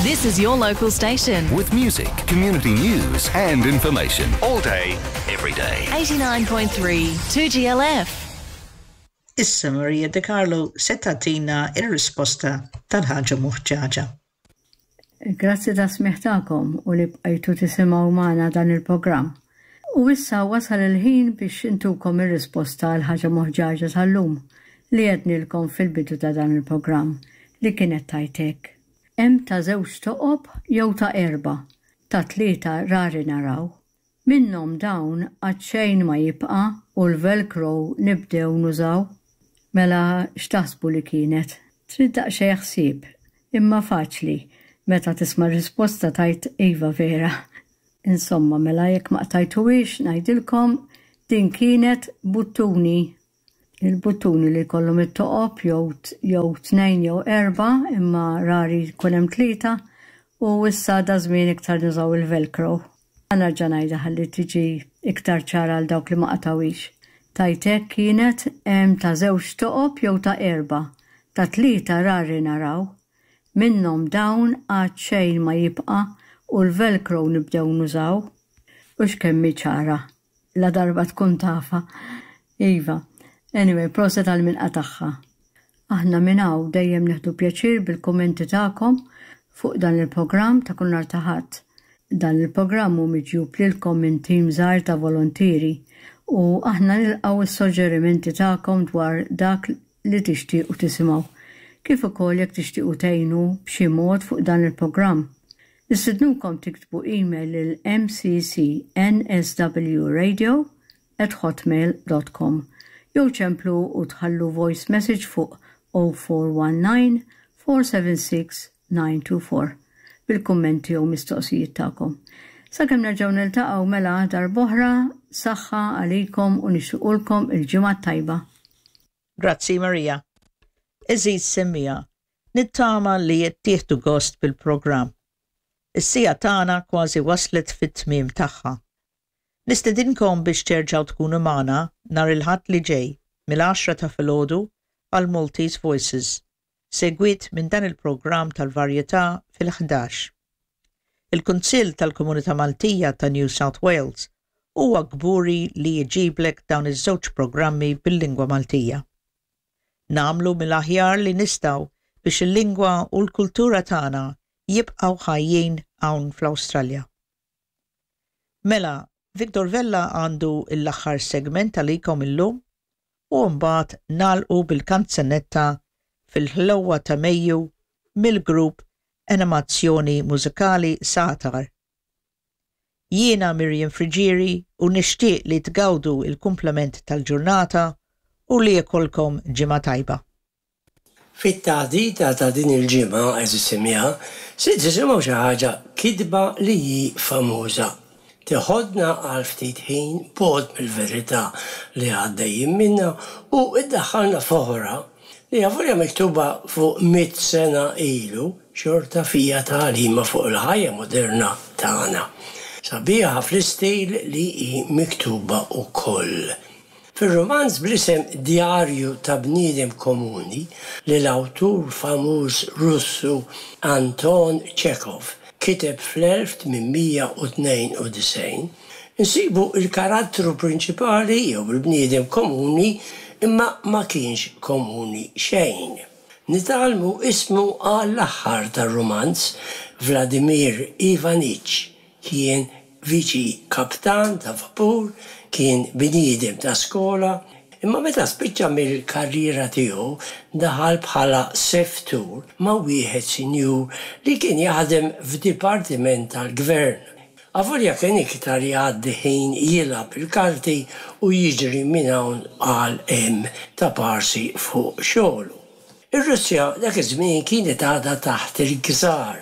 This is your local station. With music, community news, and information. All day, every day. 89.3 2GLF. Issa Maria De Carlo se tagħtina r-risposta tal-ħaġa moħġaġa. Grazzi tas-smigħ tagħkom u li bqajtu tisimgħu magħna dan il-programm. U issa wasal il-ħin biex intukom ir-risposta għal ħaġa moħġaġa tal-lum li għednilkom fil-bidu ta' dan il-programm li kienet tgħid hekk. Hemm ta' żewġ toqob jew ta' erbgħa, ta' tlieta rari naraw. Minnhom dawn għad xejn ma jibqa' u l-velcro nibdew nużaw. Mela x'taħsbu li kienet? Trid daqsxejn ħsieb, imma faċli, meta tisma' r-risposta tgħid iva vera. Insomma, mela jekk ma qtajtuhiex ngħidilkom din kienet buttuni. Il-buttuni li jkollhom it-toqob jew jew tnejn jew erbgħa imma rari jkun hemm tlieta u issa daż-żmien iktar nużaw il-velcro. Ħa nerġa' ngħidha ħalli tiġi iktar ċara għal dawk li ma qatgħuhiex. Tgħid hekk kienet hemm ta' żewġ toqob jew ta' erbgħa, ta' tlieta rari naraw. Minnhom dawn għad xejn ma jibqa' u l-velcro nibdew nużaw. Hux kemm hi ċara. La darba tkun tafha. Iva. Anyway, proset għal min qatagħha. Aħna minn hawn dejjem nieħdu pjaċir bil-kummenti tagħkom fuq dan il-programm ta' kull nhar ta' Ħadd. Dan il-programm hu miġjub lilkom minn tim żgħir ta' volontieri u aħna nilqgħu s-soġġerimenti tagħkom dwar dak li tixtiequ tisimgħu, kif ukoll jekk tixtiequ tgħinu b'xi mod fuq dan il-programm. Nistidnukom tiktbu email lil mccsnwradio@hotmail.com jew ċemplu u tħallu voice message fuq 0419 476 924 bil-kummenti jew mistoqsijiet tagħkom. Sakemm nerġgħu niltaqgħu mela darb'oħra, saħħa għalikom u nixtiequlkom il-ġimgħa t-tajba. Grazzi Maria. Għeżiż semmiegħa, nittama li qed tieħdu gost bil-programm. Is-siegħa tagħna kważi waslet fit-tmiem tagħha. Nistedinkom biex terġgħu tkunu magħna nhar il-Ħadd li ġej mill-għaxra ta' filgħodu għal Maltese Voices, segwit minn dan il-programm tal-varjetà fil-ħdax. Il-Kunsill tal-Komunità Maltija ta' New South Wales huwa kburi li jġiblek dawn iż-żewġ programmi bil-lingwa Maltija. Nagħmlu mill-aħjar li nistgħu biex il-lingwa u l-kultura tagħna jibqgħu ħajjin hawn fl-Awstralja. Mela, Victor Vella għandu l-aħħar segment għalikom illum u mbagħad nagħlqu bil-kanzunetta Fil-Ħlewwa ta' Mejju mill-grupp Animazzjoni Mużikali Sagħtar. Jiena Miriam Friggieri u nixtieq li tgawdu l-kumplament tal-ġurnata u li jkollkom ġimgħa tajba. Fit-taħdita ta' din il-ġimgħa, għeżież semmiegħa, se tisimgħu xi ħaġa kitba li hi famuża. Teħodna għal ftit ħin bogħod mill-verità li għaddejjin minnha u ddaħħalna f'oħra li avolja miktuba fuq mitt sena ilu, xorta fiha tagħlima fuq il-ħajja moderna tagħna. Sabiħa fl-istil li hi miktuba wkoll. Fir-rumanz bl-isem Djarju ta' bniedem komuni li l-awtur famuż Russu Anton Chekhov kiteb fl-1892, insibu l-karattru prinċipali jew il-bniedem komuni imma ma kienx komuni xejn. Nitgħallmu ismu għall-aħħar tar-rumanz, Vladimir Ivanich Kien viċi kaptan ta' vapur, kien bniedem ta' skola, imma meta spiċċa mill-karriera tiegħu daħal bħala seftur ma' wieħed sinjur li kien jaħdem f'dipartiment tal-gvern. Avolja kien iktar jgħaddi ħin jilgħab il-karti u jiġri minn hawn għal hemm ta' parsi fuq xogħlu. Ir-Russja dak iż-żmien kienet għadha taħt il-Czar,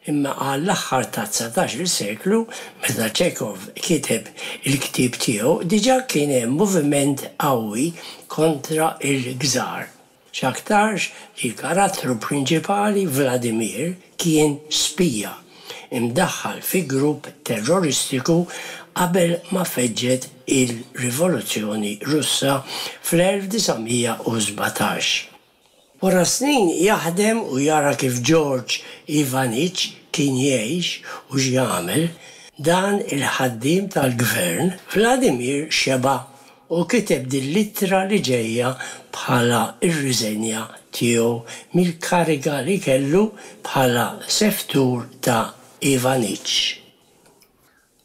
imma għall-aħħar tat-dsatax-il seklu, meta Chekhov kiteb il-ktieb tiegħu, diġà kien hemm moviment qawwi kontra l-Czar. X'aktarx li l-karattru prinċipali, Vladimir, kien spija, imdaħħal fi grupp terroristiku qabel ma feġġet il-Rivoluzzjoni Russa fl-1917. Wara snin jaħdem u jara kif George Ivanich. kien jgħix u x'jagħmel, dan il-ħaddiem tal-gvern, Vladimir xeba' u kiteb din l-ittra li ġejja bħala r-riżenja tiegħu mill-kariga li kellu bħala seftur ta' Ivanich.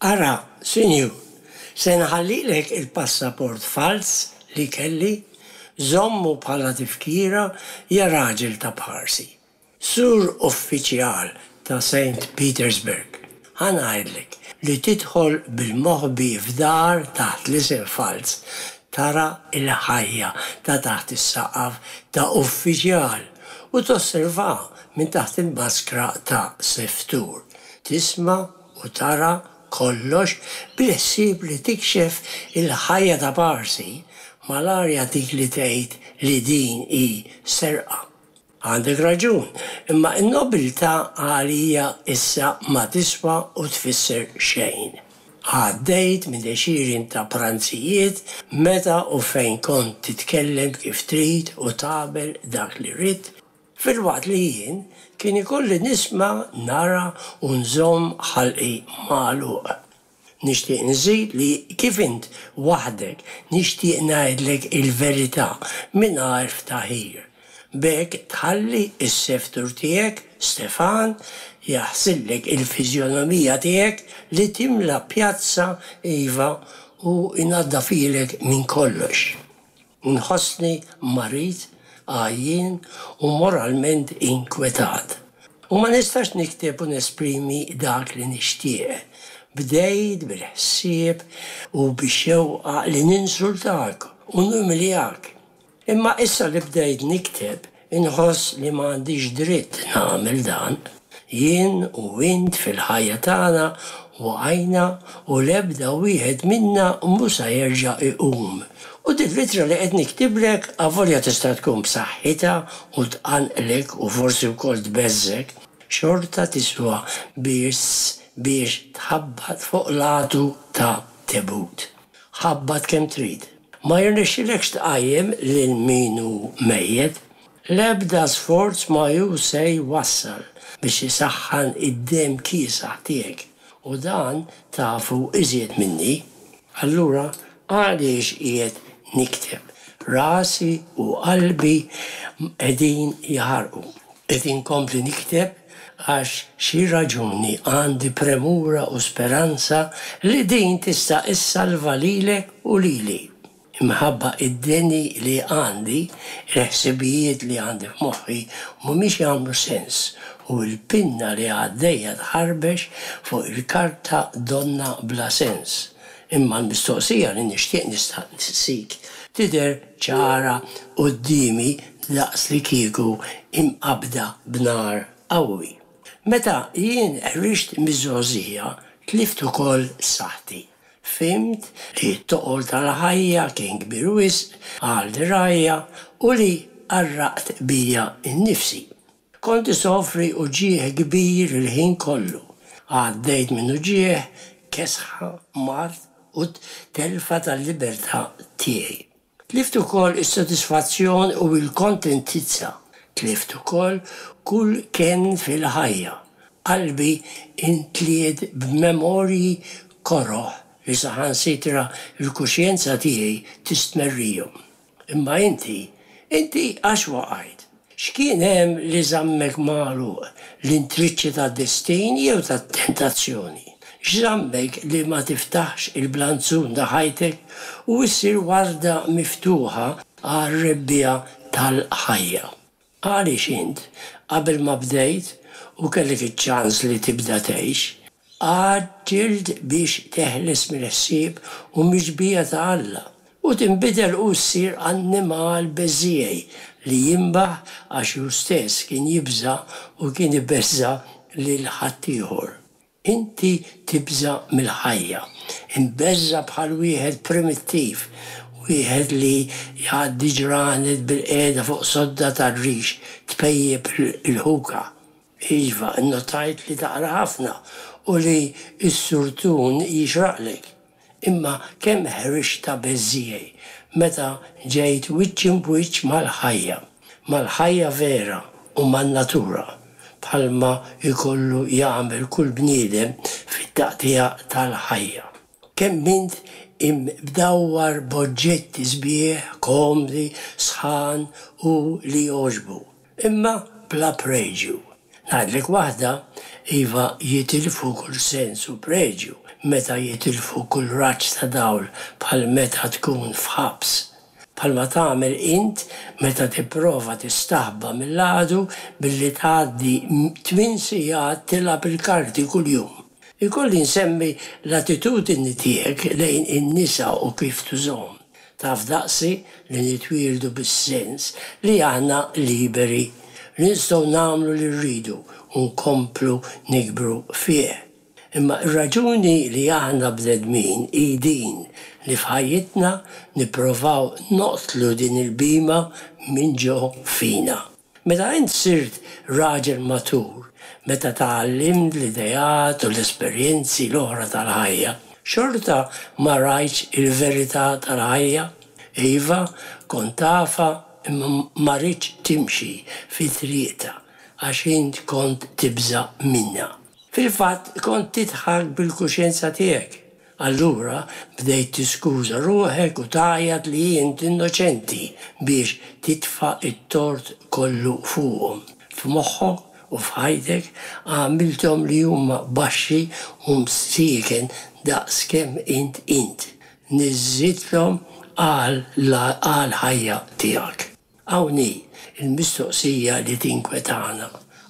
Ara, sinjur, se nħallilek il-passaport falz li kelli, żommu bħala tifkira ja raġel ta' bħarsi. Sur uffiċjal ta' Saint Petersburg, ħa ngħidlek li tidħol bil-moħbi f'dar taħt l-isem falz, tara l-ħajja ta' taħt is-saqaf ta' uffiċjal u tosservaha minn taħt il-maskra ta' seftur. Tisma' u tara kollox bil-ħsieb li tikxef il-ħajja ta' Parsi, malajr jagħtik li tgħid li din hi serqa. Għandek raġun, imma n-nobiltà għalija issa ma tiswa u tfisser xejn. Għaddejt minn għexieren ta' pranzijiet meta u fejn kont titkellem kif trid u tagħmel dak li ridt, filwaqt li jien kien ikolli nisma', nara u nżomm ħalqi magħluq. Nixtieq nżid li kif int waħdek nixtieq ngħidlek il-verità mingħajr ftaħir. B'hekk tħalli s-seftur tiegħek, Stefan, jaħsillek il-fiżjonomija tiegħek li timla pjazza iva u jnaddafilek minn kollox. Nħossni marid, għajjien u moralment inkwetat. U ma nistax nikteb u nesprimi dak li nixtieq. Bdejt bil-ħsieb u bix-xewqa li ninsultak u numiljak. Imma issa li bdejt nikteb, inħoss li ma għandix dritt nagħmel dan. Jien u int fil-ħajja tagħna waqajna u l-ebda wieħed minna mhu sa jerġa' iqum. U din l-ittra li qed niktiblek avolja tista' tkun b'saħħitha u tqanqlek u forsi wkoll tbeżżgħek, xorta tiswa biss biex tħabbat fuq l-għatu ta' tebut. Ħabbat kemm trid. Ma jirnexxilekx tqajjem lil min hu mejjet. L-ebda sforz ma hu se jwassal biex isaħħan id-demm kiesaħ tiegħek, u dan tafu iżjed minni. Allura għaliex qiegħed nikteb? Rasi u qalbi qegħdin jaħarqu. Qed inkompli nikteb għax xi raġuni għandi premura u speranza li din tista' issalva lilek u lili. Imħabba id-deni li għandi, il-ħsibijiet li għandi f'moħħi mhumiex jagħmlu sens u l-pinna li għaddejja tħarbex fuq il-karta donnha bla sens. Imma l-mistoqsija li nixtieq nistaqsik tidher ċara quddiemi daqs li kieku imqabbda b'nar qawwi. Meta jien ħriġt miż-żgħożija tlift ukoll saħħti. Fhimt li t-toqol tal-ħajja kien kbir wisq għal dirgħajja u li qarraqt bija nnifsi. Kont isofri uġigħ kbir il-ħin kollu. Għaddejt minn uġigħ, kesħa, mard u telfa tal-libertà tiegħi. Tlift ukoll is-sodisfazzjon u l-kontentizza. Tlift ukoll kull kenn fil-ħajja. Qalbi intliet b'memorji koroh li saħansitra l-kuxjenza tiegħi tistmerrihom. Imma inti, inti għax waqajt? X'kien hemm li żammek magħluq, l-intriċċi tad-destin jew tat-tentazzjoni? X'żammek li ma tiftaħx il-blanzun ta' ħajtek u issir warda miftuħa għar-rebbiegħa tal-ħajja? Għaliex int, qabel ma bdejt u kellek iċ-ċans li tibda tgħix, għaġġilt biex teħles mill-ħsieb u mix-xbieha ta' Alla, u tinbidel u ssir annimal beżżiegħi li jinbaħ għax hu stess kien jibża' u kien ibeżża' lil ħaddieħor. Inti tibża' mill-ħajja, imbeżża' bħal wieħed primittiv, wieħed li jgħaddi ġranet bilqiegħda fuq sodda tar-rix tpejjep il-ħuka. Iva, innotajt li taqra ħafna u li s-surtun jixraqlek. Imma kemm ħriġt ta' beżżiegħi meta ġejt wiċċ imb'wiċċ mal-ħajja, mal-ħajja vera u man-natura. bħalma jkollu jagħmel kull bniedem fit-taqtigħa tal-ħajja. Kemm int imdawwar b'oġġetti sbieħ, komdi, sħan u li jogħġbu, imma bla preġju. Ngħidlek waħda, iva jitilfu kull sens u preġju meta jitilfu kull raġġ ta' dawl bħal meta tkun f'ħabs. Bħalma tagħmel int meta tipprova tistaħba mill-għadu billi tgħaddi tminn sigħat tilgħab il-karti kuljum. Ikolli nsemmi l-attitudni tiegħek lejn in-nisa u kif tużhom. Taf daqsi li nitwieldu bis-sens li aħna liberi, li nistgħu nagħmlu li rridu u nkomplu nikbru fih. Imma r-raġuni li aħna bnedmin hi din li f'ħajjitna nipprovaw noqtlu din il-bhima minn ġo fina. Meta int sirt raġel matur, meta tgħallimt l-ideat u l-esperjenzi l-oħra tal-ħajja, xorta ma rajtx il-verità tal-ħajja? Iva, kont tafha imma ma ridtx timxi fi triqtha għax int kont tibża' minnha. Fil-fatt kont tidħak bil-kuxjenza tiegħek. Allura bdejt tiskuża ruħek u tgħajjat li int innoċenti biex titfa' t-tort kollu fuqhom. F'moħħok u f'ħajtek għamilthom li huma baxxi u msieken daqs kemm int int. Niżżitlhom għall-ħajja tiegħek. Hawn hi l-mistoqsija li tinkwetana.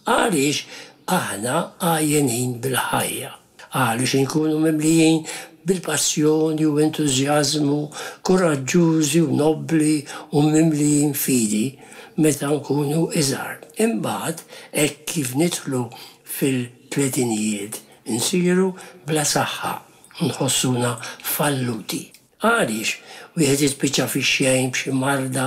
Għaliex aħna għajjenin bil-ħajja? Għaliex inkunu mimlijin bil-passjoni u entużjażmu, kuraġġużi u nobbli u mimlijin fidi meta nkunu iżgħar. Imbagħad, hekk kif nidħlu fil-tletinijiet, insiru bla saħħa u nħossuna falluti. Għaliex wieħed jispiċċa fix-xejn b'xi marda,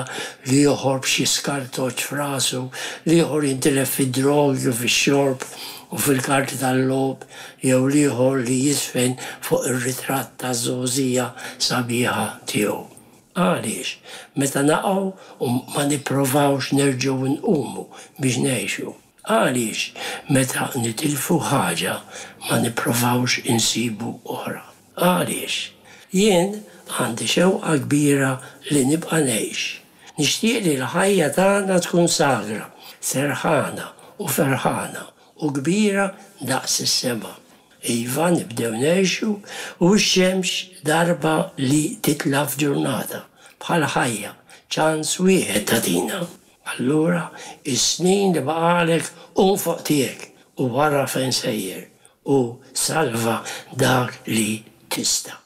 l-ieħor b'xi skartoċċ f'rasu, l-ieħor jintilef fid-drogi u fix-xorb u fil-karti tal-logħob, jew l-ieħor li jiżfen fuq ir-ritratt taż-żgħożija sabiħa tiegħu? Għaliex meta naqgħu u ma nipprovawx nerġgħu nqumu biex ngħixu? Għaliex meta nitilfu ħaġa ma nipprovawx insibu oħra? Għaliex? Jien għandi xewqa kbira li nibqa' ngħix. Nixtieq li l-ħajja tagħna tkun sagra, serħana u ferħana u kbira daqs is-sema. Iva, nibdew ngħixu u x-xemx darba li titla' f'ġurnata, bħall-ħajja, ċans wieħed tagħtina. Allura, is-snin li baqagħlek qum fuq tiegħek u ara fejn sejjer u salva dak li tista'.